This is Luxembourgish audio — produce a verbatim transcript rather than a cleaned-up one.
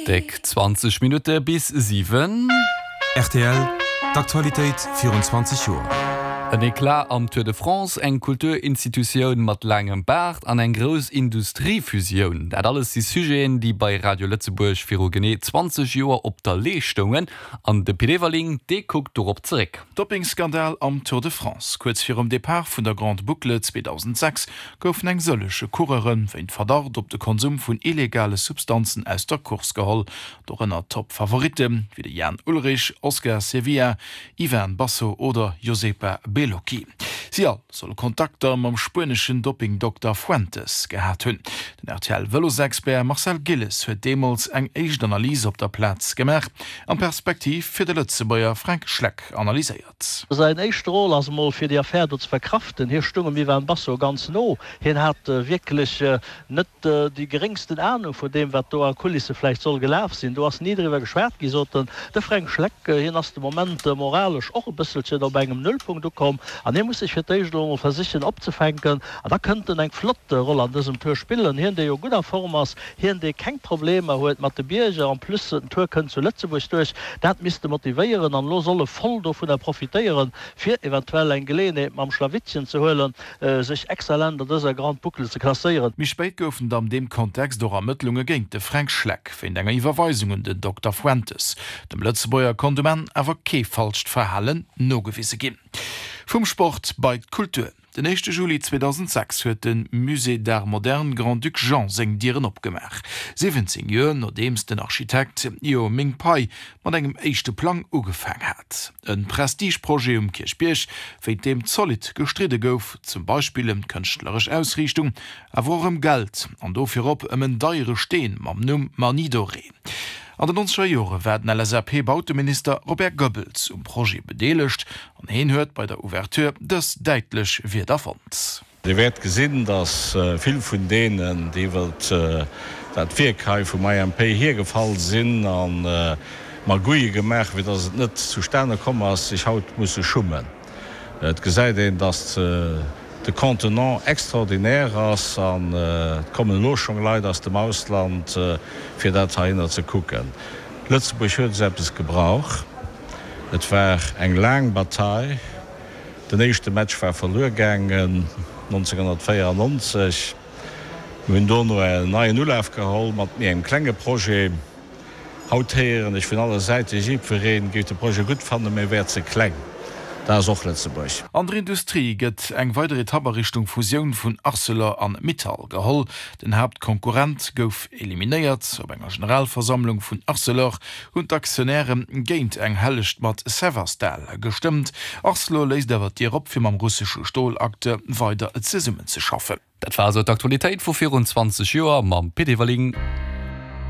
Déck zwanzeg Minutte bis siwen. Rtl, D'Aktualitéit virun zwanzeg Joer. En Eclat am Tour de France, eng Kulturinstitutioun mat laangem Baart an eng grouss Industriefusioun, dat alles si Sujeten, déi bei Radio Lëtzebuerg viru genee zwanzeg Joer op der Lee stoungen. An de Pit Everling, dee kuckt dorop zeréck. Doppingskandal am Tour de France, Kuerz virum Depart vun der Grande Boucle zweedausendsechs goufen eng sëllege Coureure wéint Verdacht op de Konsum vun illegale Substanzen aus der Course geholl, dorënner Top-Favoritte wéi de Jan Ullrich, Oscar Sevilla, Ivan Basso oder Josepa Beloki. Si all solle Kontakter mam spueneschen Doppingdokter Fuentes gehat hunn. Den R T L-Vëlosexpert Marcel Gilles huet deemools eng éischt Analys op der Plaz gemaach an d'Perspektiv fir de Lëtzebuerger Fränk Schleck analyséiert. Säin éischte Rôle ass emol fir déi Affär do ze verkraften. Hie stung dem Ivan Basso ganz no. Hien hat wierklech net déi geréngsten Anung vun deem, wat do a Kulisse vläicht soll gelaf sinn. Do ass ni driwwer geschwat gi, sot en. De Fränk Schleck, hien ass de Moment moralesch och e bësselchen op engem Nullpunkt ukomm an hie muss sech fir d'éischt elo emol versichen opzefänken. An da kënnt en eng flott Roll an dësem Tour spillen. Hien, dee jo gutt a Form ass, hien, dee keng Problemer huet mat de Bierger, en plus den Tour kënnt zu Lëtzebuerg duerch, dat misst e motivéieren an elo soll e voll dovunner profitéieren, fir eventuell eng Geleeënheet mam Schlawittchen ze huelen, sech exzellent an dëser Grande Boucle ze klasséieren. Méi spéit goufen et am deem Kontext och Ermëttlunge géint de Fränk Schleck wéint enger Iwwerweisung un den Dokter Fuentes. Dem Lëtzebuerger konnt um Enn awer kee falscht Verhalen nogewise ginn. Vum Sport bei d'Kultur. Den éischte Juli zweedausendsechs huet de Musée d'Art Moderne Grand-Duc Jean seng Dieren opgemaach, siwwenzéng Joer nodeems den Architekt Ieoh Ming Pei mat engem éischte Plang ugefaang hat. E Prestigeprojet um Kierchbierg, wéint deem zolidd gestridde gouf, zum Beispill ëm d'kënschtleresch Ausriichtung, awer och ëm Geld an do virop ëm en deiere Steen mam Numm Manille dorée. An den nonzeger Jore war den L S A P-Bauteminister Robert Goebbels um Projet bedeelegt an hien huet bei der Ouverture dës däitlech Wierder fonnt. Dir wäert gesinn, datt vill vun deenen, déi iwwert dat Wierk hei vum I M P hiergefall sinn a Magouille gemaach, fir datt et net zustane komm ass, sech haut musse schummen. Et gesäit een, datt de Contenant extraordinaire ass an et kommen elo schonn Leit aus dem Ausland, fir dat heihinner ze kucken. Lëtzebuerg huet esou eppes gebrauch. Et war eng laang Bataille. Den éischte Match war verluer gaangen nonzénghonnertvéierennonzeg. Mir hunn dono en neien Ulaf geholl mat méi engem klenge Projet. Haut héieren ech vun alle Säite, jiddweree géif de Projet gutt fannen, mä e wär ze kleng. Dat ass och Lëtzebuerg. An der Industrie gëtt eng weider Etapp a Richtung Fusioun vun Arcelor an Mittal geholl. Den Haaptkonkurrent gouf eliminéiert. Op enger Generalversammlung vun Arcelor hunn d'Aktionäre géint eng Hellecht mat Severstal gestëmmt. Arcelor léisst awer d'Dier op, fir mam russesche Stolacteur weider zesummenzeschaffen. Dat war esou d'Aktualitéit vu virun zwanzeg Joer mam Pit Everling.